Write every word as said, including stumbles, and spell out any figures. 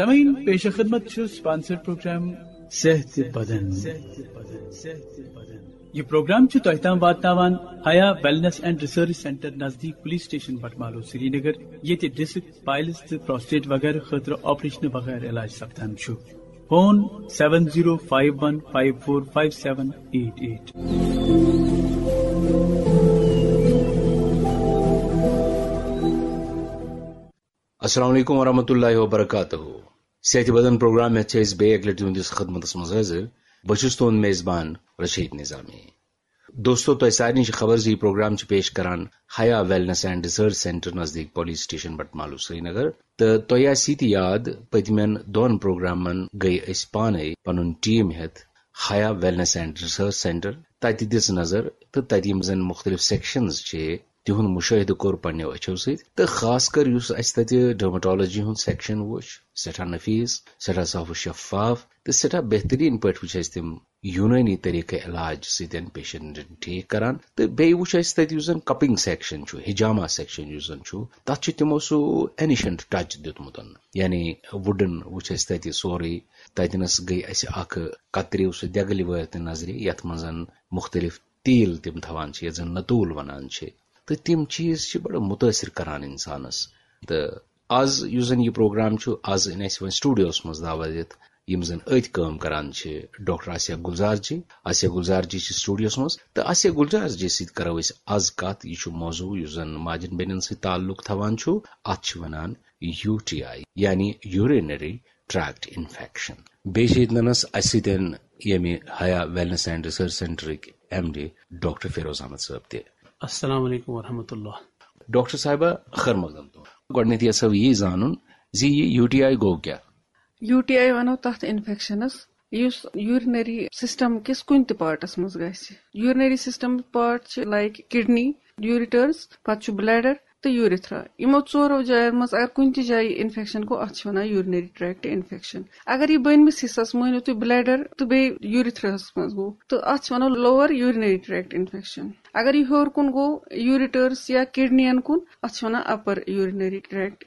سامعین، پیش خدمت چھُ سپانسرڈ پروگرام صحت بدن۔ یہ پروگرام چھُ تۄہہِ تام واتناوان حیا ویلنس اینڈ ریسرچ سینٹر نزدیک پولیس سٹیشن بٹمالو سرینگر، ییٚتہِ ڈسک، پائلز تہٕ پروسٹیٹ وغیرہ خٲطرٕ آپریشن بغیر علاج سپدان چھُ۔ Phone seven zero five one five four five seven eight eight۔ السلام علیکم ورحمۃ اللہ وبرکاتہ۔ صحت بدن پروگرام ہیتھ چھِ أسۍ بیٚیہِ اَکہِ لَٹہِ تُہٕنٛدِس خدمتس منٛز حٲضِر۔ بہٕ چھُس تُہُنٛد میزبان رشید نظامی۔ دوستو، تۄہہِ سارنٕے چھِ خبر زِ یہِ پروگرام چھُ پیش کران حیا ویلنس اینڈ ریسرچ سینٹر نزدیٖک پولیس سٹیشن بٹمالو سرینگر۔ تہٕ تۄہہِ آسہِ یہِ تہِ یاد، پٔتمٮ۪ن دۄن پروگرامن گٔے أسۍ پانے پنُن ٹیٖم ہیتھ حیا ویلنس اینڈ ریسرچ سینٹر۔ تتہِ دِژ نظر تہٕ تتہِ یِم زن مُختٔلِف سیکشنز چھِ، تِہُنٛد مُشٲہدٕ کوٚر پننیو أچھو سۭتۍ۔ تہٕ خاص کر یُس اسہِ تتہِ ڈرمٹالوجی ہُنٛد سیکشن وُچھ، سٮ۪ٹھاہ نفیٖس، سٮ۪ٹھاہ صاف و شفاف تہٕ سٮ۪ٹھاہ بہتریٖن پٲٹھۍ وُچھ اسہِ تِم یوٗنٲنی طریٖقہٕ علاج سۭتۍ پیشنٹن ٹھیٖک کران۔ تہٕ بیٚیہِ وُچھ اسہِ تتہِ یُس زن کپنگ سیکشن چھُ، حجامہ سیکشن یُس زن چھُ، تتھ چھُ تِمو سُہ اینشنٹ ٹچ دیُتمُت۔ یعنی وُڈن وُچھ اسہِ تتہِ سورُے۔ تتہِ نس گٔے اسہِ اکھ کترِو سُہ دٮ۪گلہِ وٲر تہِ نظرِ، یتھ منٛز زن مُختٔلِف تیٖل تِم تھاوان چھِ، یتھ زن نتوٗل ونان چھِ۔ تہٕ تِم چیٖز چھِ بڑٕ مُتٲثر کران انسانس۔ تہٕ از یُس زن یہِ پروگرام چھُ، از أنۍ اسہِ وۄنۍ سٹوڈیوس منٛز دعوت دِتھ، یِم زن أتھۍ کٲم کران چھِ، ڈاکٹر آسیہ گلزار جی۔ آسیہ گلزار جی چھِ سٹوڈیوس منٛز، تہٕ آسیہ گلزار جی سۭتۍ کرو أسۍ از کتھ۔ یہِ چھُ موضوع یُس زن ماجن بیٚنٮ۪ن سۭتۍ تعلق تھاوان چھُ، اتھ چھِ ونان یوٗ ٹی آی، یعنی یورینری ٹریکٹ انفیکشن۔ بیٚیہِ چھِ ییٚتہِ نَنَس اَسہِ سۭتۍ ییٚمہِ حیا ویلنس اینڈ ریسرچ سینٹرٕکۍ M D doctor Feroz Ahmad Sahab تہِ۔ السلام علیکم ورحمۃ اللہ۔ ڈاکٹر صاحبہ، خیر مقدم تُہُنٛد۔ گۄڈٕنیتھٕے یژھو یی زانُن زِ یہِ یوٗ ٹی آی گوٚو کیٛاہ؟ یوٗ ٹی آی ونو تتھ انفیکشنس یُس یورینری سسٹم کِس کُنہِ تہِ پارٹس منٛز گژھِ۔ یورینری سسٹم پارٹ چھِ لائک کڈنی، یوریٹرز، پتہٕ چھُ بلیڈر تہٕ یوریتھرا۔ یِمو ژورو جاین منٛز اگر کُنہِ تہِ جایہِ انفیکشن گوٚو، اتھ چھِ ونان یورینری ٹریکٹ انفیکشن۔ اگر یہِ بٔنمِس حصس مٲنِو تُہۍ بلیڈر تہٕ بیٚیہِ یوریتھراہس منٛز گوٚو، تہٕ اتھ چھِ ونان لوور یورینری ٹریکٹ انفیکشن۔ اگر یہِ ہیوٚر کُن گوٚو یوریٹرز یا کڈنین کُن، اتھ چھِ ونان اپر یورینری ٹریکٹ